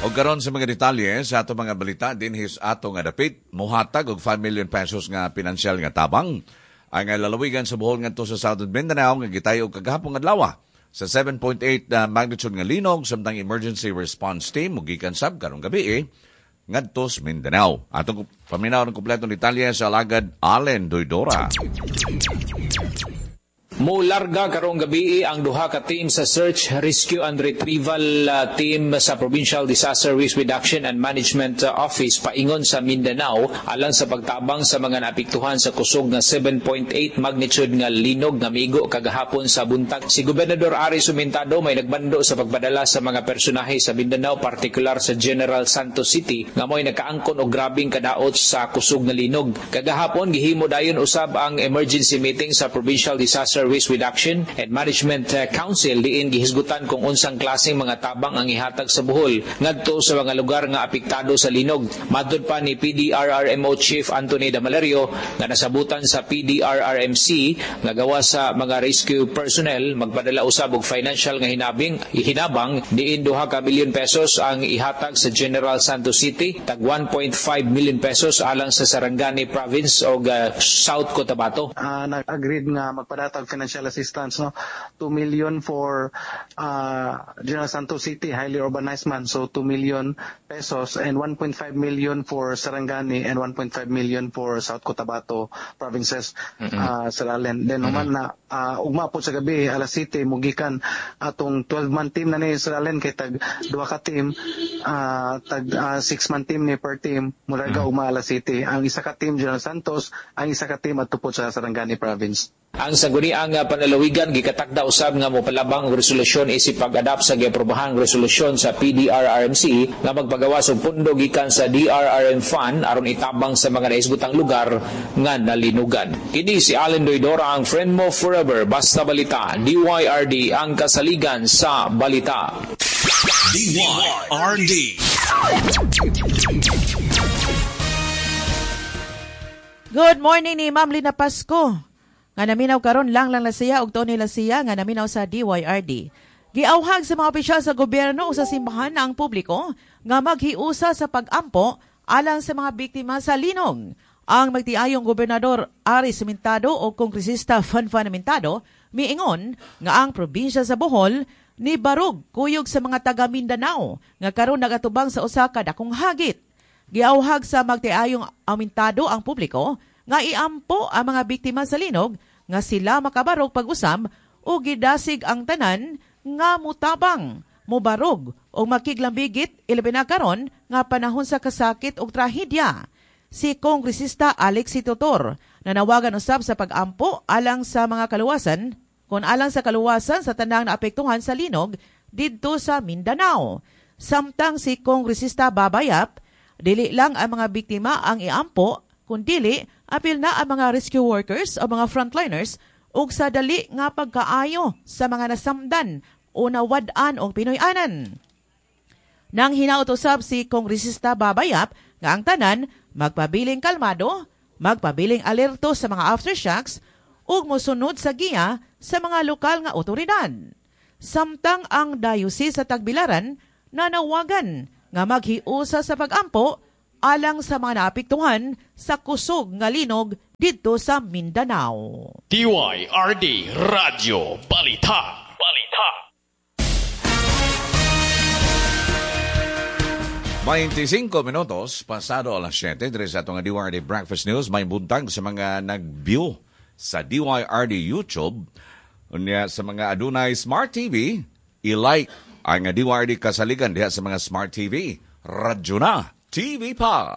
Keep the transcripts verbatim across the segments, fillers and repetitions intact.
O karon sa mga detalye sa ato mga balita dinhi sa ato nga dapit mohatag og five million pesos nga pinansyal nga tabang ang lalawigan sa Bohol ngadto sa Southern Mindanao nga gitayo kagahapon adlaw sa seven point eight uh, magnitude nga linog samtang emergency response team mogikan sab karong gabi eh, ngadto sa Mindanao. Atong paminaw ng kompletong detalye sa alagad Allen Doydora. Mularga karong gabi ang duha ka team sa Search, Rescue and Retrieval uh, Team sa Provincial Disaster Risk Reduction and Management Office paingon sa Mindanao alang sa pagtabang sa mga naapektuhan sa kusog nga seven point eight magnitude nga linog nga migo kagahapon sa buntag. Si Gobernador Aris Sumentado may nagbando sa pagpadala sa mga personahe sa Mindanao, partikular sa General Santos City, nga mo'y nakaangkon og grabing kadaot sa kusog nga linog. Kagahapon gihimo dayon usab ang emergency meeting sa Provincial Disaster Risk Reduction and Management Council diin gihisgutan kung unsang klaseng mga tabang ang ihatag sa Bohol ngadto sa mga lugar nga apektado sa linog. Matud pa ni P D R R M O Chief Anthony Damalerio nga nasabutan sa P D R R M C nga gawa sa mga rescue personnel magpadala usab og financial nga hinabing hinabang diin duha ka bilyon pesos ang ihatag sa General Santos City, tag one point five million pesos alang sa Sarangani Province og uh, South Cotabato. Uh, nag-agreed nga magpadatag financial assistance, no? two million for uh, General Santos City, highly urbanized man, so two million pesos, and one point five million for Sarangani and one point five million for South Cotabato provinces, mm-hmm. uh, Sir Allen. Then mm-hmm. human na uh, ugma po sa gabi alas siyete mugikan atong twelve-man team na ni Sir Allen kay tag duha ka team, uh, tag uh, six-man team ni per team mularga mm-hmm. ugma alas siyete. Ang isa ka team General Santos, ang isa ka team adto po sa Sarangani province. Ang sangguniang panlalawigan gikatakda usab nga mopalabang og resolusyon isip pag-adapt sa giaprobahang resolusyon sa P D R R M C nga magpagawas og pundo gikan sa D R R M Fund aron itabang sa mga naisgutang lugar nga nalinugan. Kini si Allen Doydora, ang friend mo forever. Basta Balita, D Y R D, ang kasaligan sa balita. D Y R D. Good morning ni Ma'am Lina Pasco. Nga naminaw karon lang lang lasiya og Tony Lasiya nga naminaw sa D Y R D. Giawhag sa mga opisyal sa gobyerno o sa simbahan na ang publiko nga maghiusa sa pag-ampo alang sa mga biktima sa linog. Ang magtiayong gobernador Aris Mintado o kongresista Fanfan Mintado miingon nga ang probinsya sa Bohol ni barug kuyog sa mga taga Mindanao nga karon nagatubang sa usa ka dakong hagit. Giawhag sa magtiayong Amintado ang publiko nga iampo ang mga biktima sa linog nga sila makabarog pag-usab o gidasig ang tanan nga mutabang, mubarog o makiglambigit ilabi na karon nga panahon sa kasakit og trahedya. Si Kongresista Alex Tutor nanawagan usab sa pag-ampo alang sa mga kaluwasan kon alang sa kaluwasan sa tanang naapektuhan sa linog didto sa Mindanao. Samtang si Kongresista Babayap, dili lang ang mga biktima ang iampo kundili apil na ang mga rescue workers o mga frontliners ug sa dali nga pagkaayo sa mga nasamdan o nawad-an og Pinoy-anan. Nang hinaot usab si Kongresista Babayap nga ang tanan magpabiling kalmado, magpabiling alerto sa mga aftershocks ug mosunod sa giya sa mga lokal nga otoridad. Samtang ang diocese sa Tagbilaran nanawagan nga maghiusa sa pag-ampo alang sa mga naapektuhan sa kusog nga linog didto sa Mindanao. D Y R D Radyo Balita. Balita. twenty-five minutos pasado alas siyete diri sa atong D Y R D Breakfast News. May buntag sa mga nag-view sa D Y R D YouTube. Unya sa mga adunay Smart T V, i-like ang D Y R D kasaligan diha sa mga Smart T V. Radyo na, T V pa.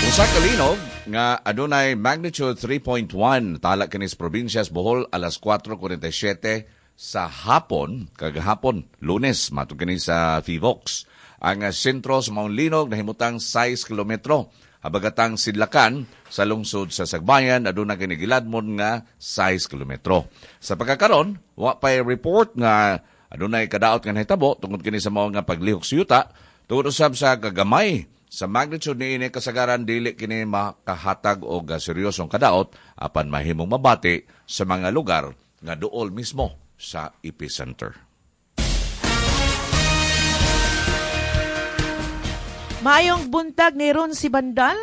Usa ka linog nga adunay magnitude three point one tala kini sa probinsya sa Bohol alas kwatro kuwarenta y siyete sa hapon, kagahapon, Lunes, matud kini sa Phivolcs. Ang sentro sa Mount Linog nahimutang sais kilometro. Habagatang sidlakan sa lungsod sa Sagbayan aduna kini giladmon nga sais kilometro. Sa pagkakaron, wa pay report nga adunay kadaot nga nahitabo tungod kini sa mao nga paglihok sa yuta. Tungod usab sa kagamay sa magnitude niini kasagaran dili kini makahatag og seryosong kadaot apan mahimong mabati sa mga lugar nga duol mismo sa epicenter. Maayong buntag ni Ron si Bandal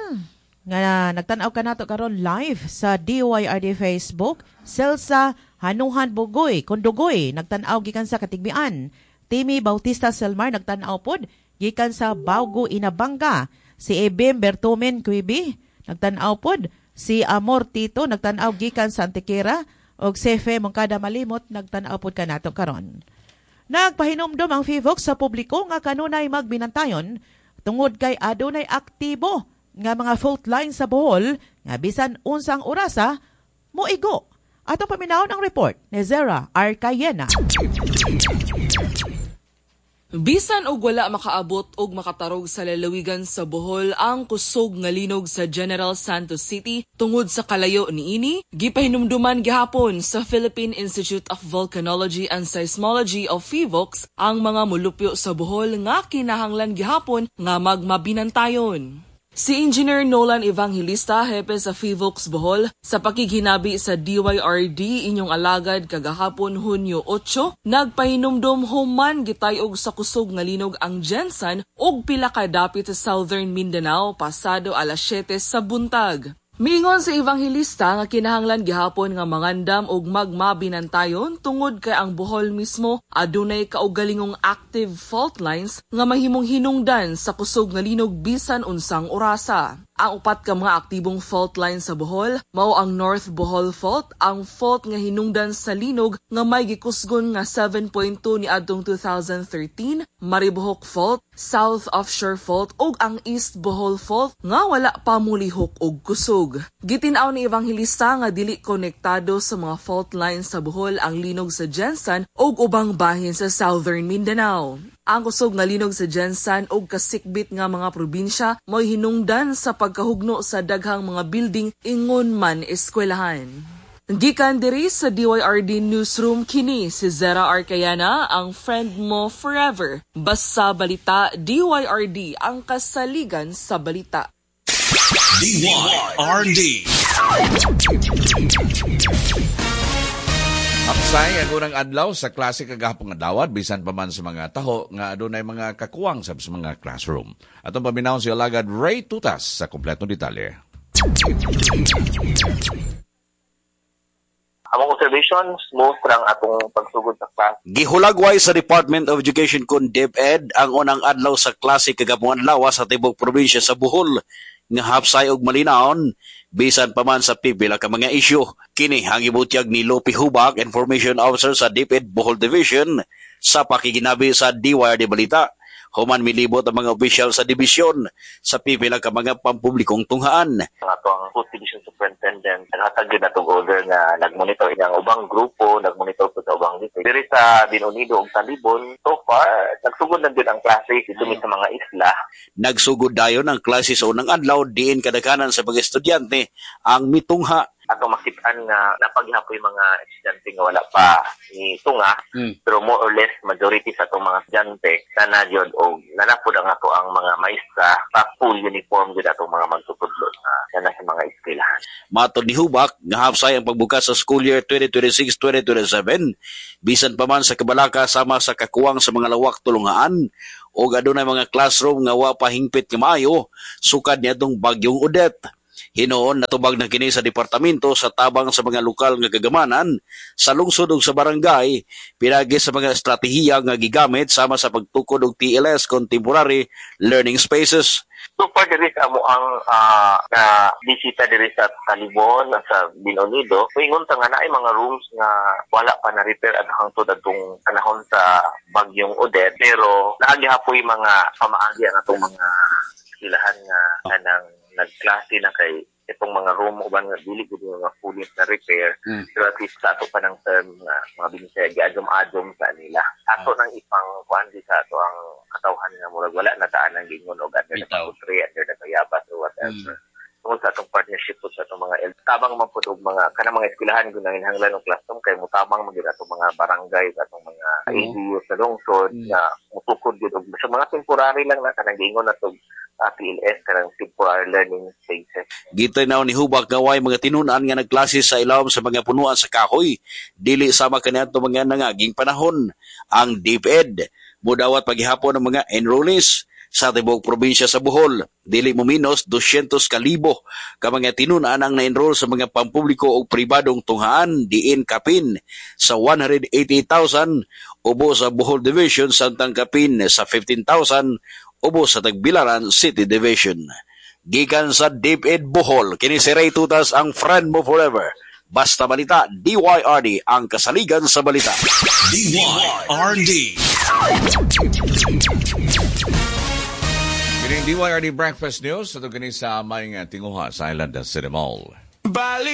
nga nagtan-aw kanato karon live sa D Y R D Facebook. Celsa Hanuhan Bugoy Kondugoy, nagtan-aw gikan sa Katigbian. Timmy Bautista Selmar, nagtan-aw pod gikan sa Baugo, Inabanga. Si Ebem Bertomen Quibi, nagtan-aw pod. Si Amor Tito, nagtan-aw gikan sa Antequera, ug si Fe Mongkada Malimot, nagtan-aw pod kanato karon. Nagpahinumdom ang Phivolcs sa publiko nga kanunay magbinantayon tungod kay adunay aktibo nga mga fault line sa Bohol nga bisan unsang orasa moigo. Atong paminawon ang report ni Zera Arcayena. Bisan og wala makaabot og makatarog sa lalawigan sa Bohol ang kusog nga linog sa General Santos City tungod sa kalayo niini, gipahinumduman gihapon sa Philippine Institute of Volcanology and Seismology o PHIVOLCS ang mga mulupyo sa Bohol nga kinahanglan gihapon nga magmabinantayon. Si Engineer Nolan Evangelista, hepe sa PHIVOLCS Bohol, sa pakighinabi sa D Y R D Inyong Alagad kagahapon, Hunyo otso, nagpahinumdom human gitayog sa kusog nga linog ang GenSan ug pila ka dapit sa Southern Mindanao pasado alas siyete sa buntag. Miingon si Evangelista nga kinahanglan gihapon nga mangandam og magmabinantayon tungod kay ang Bohol mismo adunay kaugalingong active fault lines nga mahimong hinungdan sa kusog nga linog bisan unsang orasa. Ang upat ka mga aktibong fault line sa Bohol mao ang North Bohol Fault, ang fault nga hinungdan sa linog nga may gikusgon nga seven point two niadtong two thousand thirteen, Maribojoc Fault, South Offshore Fault ug ang East Bohol Fault nga wala pa mulihok og kusog. Gitin-aw ni Evangelista nga dili konektado sa mga fault lines sa Bohol ang linog sa GenSan ug ubang bahin sa Southern Mindanao. Ang kusog nga linog sa GenSan ug kasikbit nga mga probinsya mo'y hinungdan sa pagkahugno sa daghang mga building, ingon man eskwelahan. Gikan diri sa D Y R D Newsroom, kini si Zera Arcayana, ang friend mo forever. Basta balita, D Y R D, ang kasaligan sa balita. D Y R D. Hapsay ang unang adlaw sa klase kagahapon nga dawat bisan pa man sa mga taho nga adunay mga kakuwang sa mga classroom. Atong paminawon si alagad Ray Tutas sa kompletong detalye. Among observation, smooth lang atong pagsugod sa class. Gihulagway sa Department of Education kon DepEd ang unang adlaw sa klase kagahapon adlaw sa tibok probinsya sa Bohol nga hapsay og malinawon bisan pa man sa pipila ka mga isyu. Kini ang gibutyag ni Lopi Hubak, Information Officer sa DepEd Bohol Division, sa pakiginabi sa D Y R D Balita human milibot ang mga opisyal sa dibisyon sa pipila ka mga pampublikong tunghaan. Ang ato ang Food Division Superintendent naghatag gyud natong order nga nagmonitor ang ubang grupo, nagmonitor po sa ubang dito. Diri sa Bien Unido ug Talibon, so far nagsugod na gyud ang klase dito sa mga isla. Nagsugod dayon ang klase sa unang adlaw diin kadaghanan sa mga estudyante ang mitungha. Atong makitaan nga napaghapoy mga estudyante nga wala pa ni tunga, Mm. pero more or less majority sa atong mga estudyante na gyud og nanapod ang ato ang mga maestra pa full uniform gyud atong mga magtutudlo na na sa mga eskwelahan. Matod ni Hubak, nga hapsay ang pagbukas sa school year twenty twenty-six twenty twenty-seven, bisan pa man sa kabalaka sama sa kakuwang sa mga lawak tulungaan o adunay mga classroom nga wa pa hingpit nga maayo sukad niadtong bagyong Odette. Hinuon natubag na kini sa departamento sa tabang sa mga lokal nga kagamanan sa lungsod ug sa barangay pinaagi sa mga estratehiya nga gigamit sama sa pagtukod og T L S, Contemporary Learning Spaces. So far diri sa amo ang ah, na bisita diri sa Talibon, sa Bien Unido, moingon ta nga naay mga rooms nga wala pa na repair at hangtod adtong panahon sa bagyong Odette, pero naa gihapoy mga pamaagi ang atong mga eskwelahan nga kanang nagklase na kay itong mga room uban nga dili gud nga fully na repair, Mm. pero at least sa ato pa ng term nga mga binisaya giadjom-adjom sa nila ato nang ipang kuan di sa ato ang katawhan nga murag wala na taan ang gingon og under the Bitaw. country, under the Tayabas or whatever, tungod sa atong partnership po sa atong mga el tabang man pud og mga kanang mga eskwelahan kung nanginahanglan og classroom kay mutabang man gyud atong mga barangay, atong mga Oo. L G U sa lungsod Mm. nga mutukod gyud og sa mga temporary lang na kanang giingon natong uh, T L S, kanang temporary learning spaces. Gitinaw ni Hubak nga way mga tinunan nga nagklase sa ilawom sa mga punuan sa kahoy dili sama kaniadto mga nangaging panahon. Ang DepEd mudawat paghihapon ng mga enrollees. Sa tibuok probinsya sa Bohol, dili mo minos dosyentos kalibo ka mga tinun-an ang na-enroll sa mga pampubliko o pribadong tunghaan, diin kapin sa one hundred eighty thousand ubo sa Bohol Division, samtang kapin sa fifteen thousand ubo sa Tagbilaran City Division. Gikan sa DepEd Bohol, kini si Ray Tutas, ang friend mo forever. Basta balita, D Y R D ang kasaligan sa balita. D Y R D. Kining D Y R D Breakfast News, ito kini sa may tinguha sa Island City Mall. Balita.